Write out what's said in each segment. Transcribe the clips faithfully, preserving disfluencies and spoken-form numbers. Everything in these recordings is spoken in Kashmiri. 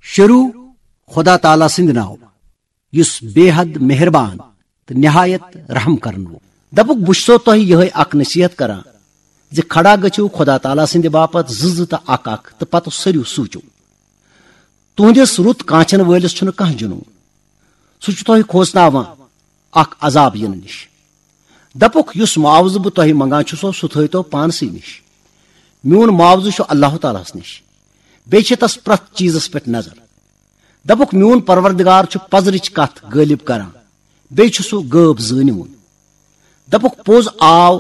شروع خدا تعالیٰ سٕنٛدِ ناو، یُس بے حد مہربان تہٕ نہایت رحم کرن وول۔ دپُکھ، بہٕ چھُسو تۄہہِ یِہے اکھ نصیحت کران زِ کھڑا گٔژھِو خدا تعالیٰ سٕنٛدِ باپتھ زٕ زٕ تہٕ اکھ اکھ، تہٕ پتہٕ سٔرِو سوٗچِو۔ تُہنٛدِس رُت کانچن وٲلِس چھُنہٕ کانٛہہ جنون۔ سُہ چھُ تۄہہِ کھوژناوان اکھ عذاب یِنہٕ نِش۔ دپُکھ، یُس معاوضہٕ بہٕ تۄہہِ منگان چھُسو، سُہ تھٲوتو پانسٕے نِش۔ میون معاوضہٕ چھُ اللہ تعالیٰ ہس نِش۔ بیٚیہِ چھِ تس پرٛٮ۪تھ چیٖزس پٮ۪ٹھ نظر۔ دپُکھ، میون پروردگار چھُ پزرٕچ کتھ غٲلب کران، بیٚیہِ چھُ سُہ غٲب زٲنِوُن۔ دپُکھ، پوٚز آو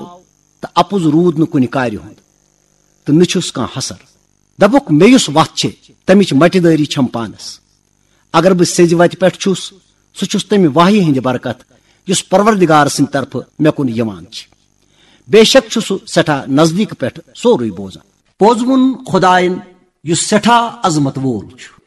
تہٕ اپُز روٗد نہٕ کُنہِ کارِ ہُنٛد، تہٕ نہٕ چھُس کانٛہہ حسر۔ دپُکھ، مےٚ یُس وتھ چھِ، تمِچ مٹہِ دٲری چھم پانس۔ اگر بہٕ سیٚزِ وتہِ پٮ۪ٹھ چھُس، سُہ چھُس تمہِ وحی ہٕنٛدِ برکت، یُس پروردگار سٕنٛدِ طرفہٕ مےٚ کُن یِوان چھِ۔ بے شک چھُ سُہ سٮ۪ٹھاہ نزدیٖک پٮ۪ٹھ سورُے بوزان۔ پوٚز ووٚن خدایَن، یُس سٮ۪ٹھاہ عظمت وول چھُ۔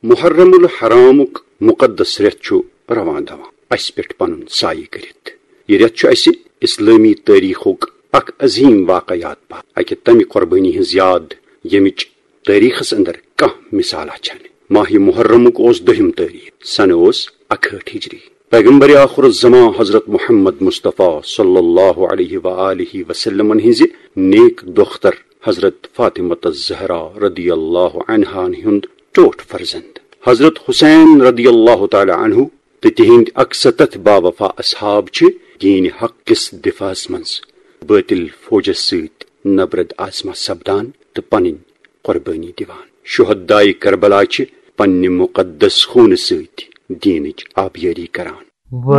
محرم الحرامُک مقدس رٮ۪تھ چھُ رواں دواں اسہِ پٮ۪ٹھ پنُن سایہِ کٔرِتھ۔ یہِ رٮ۪تھ چھُ اسہِ اسلٲمی تٲریخُک اکھ عظیٖم واقعہ یاد پاتھ، اکہِ تمہِ قۄربٲنی ہٕنٛز یاد، ییٚمِچ تٲریخس اندر کانٛہہ مثالہ چھنہٕ۔ ماہ محرمُک اوس دٔہِم تٲریخ، سنہٕ اوس اکہٲٹھ ہجری۔ پیغمبر آخر الزمان حضرت محمد مصطفیٰ صلی اللہ علیہ وآلہ وسلمن ہٕنٛزِ نیک دختر حضرت فاطمہ الزہرا رضی اللہ عنہن ہُنٛد ٹوٹھ فرزند حضرت حسین رضی اللہ تعالیٰ عنہ تہٕ تِہنٛدۍ اکستتھ باوفا اصحاب چھِ دین حق کِس دفاعس منٛز بٲطل فوجس سۭتۍ نبرد آزما سپدان تہٕ پنٕنۍ قۄربٲنی دِوان۔ شہدائے کربلا چھِ پننہِ مقدس خوٗنہٕ سۭتۍ دینٕچ آبیٲری کران۔